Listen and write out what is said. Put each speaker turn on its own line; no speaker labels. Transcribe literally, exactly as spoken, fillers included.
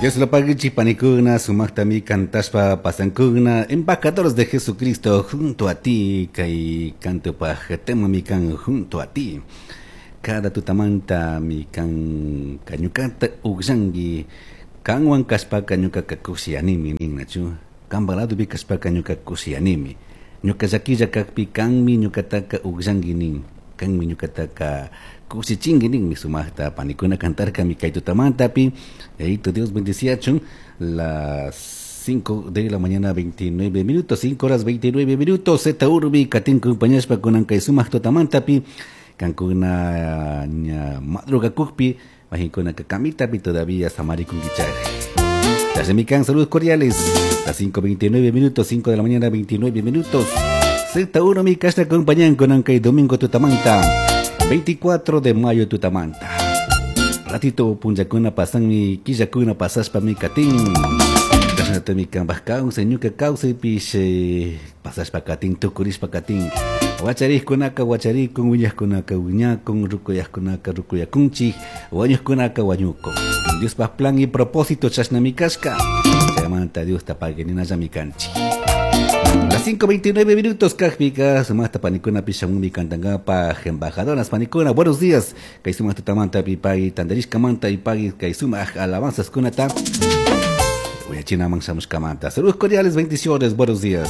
Dios lo pague panikuna, sumaktami kantashpa pasankuna, embajadores de Jesucristo junto a ti, kay canto paj tema mi kan junto a ti. Cada tutamanta mi kan kañukata ugllanki, kanwan kashpaka ñukaka kushiyanimi ninnachu, kanpa ladopi kashpaka ñuka kushiyanimi. Ñuka llaquilla kakpi kanmi ñukataka ugllanki nin, kanmi ñukataka kushichinki ninmi sumaqta panikuna kantarkami kay tutamantapi. Yayito Dios bendeciachun. Las cinco de la mañana veintinueve minutos, cinco horas veintinueve minutos, Z Urbi katin compañashpa kunan kay sumaq tutamantapi, kankuna ña madrugakukpi, majinkuna kamitapi todavía samarikunkichaj. Kan saludos cordiales. Las cinco veintinueve minutos, cinco de la mañana veintinueve minutos. Z uno mi casa acompañan con kay domingo tutamanta, veinticuatro de mayo tutamanta. Ratito punllakuna pasanmi, killakuna pasashpa mi katin. Kashnatami kanpaj kawsay, ñuka kawsaypish pasashpa katin, tukurishpa katin. Wacharikkunaka wacharikun, wiñajkunaka wiñakun, rukuyajkunaka rukuyakunchik, wañujkunaka wañukun. Diospaj plan y propósito chashnami kashka. Chaymanta Diosta pagueninallami kanchik. Las cinco veintinueve minutos, kajpika, sumaqta panikuna pishamumi kantankapaj, embajadoras panikuna, buenos días. Kay sumaq tutamanta pipay, tantarishkamanta ipay, kay sumaq alabanzas kunata. Uyachinaman shamushkamanta. Saludos cordiales, bendiciones, buenos días.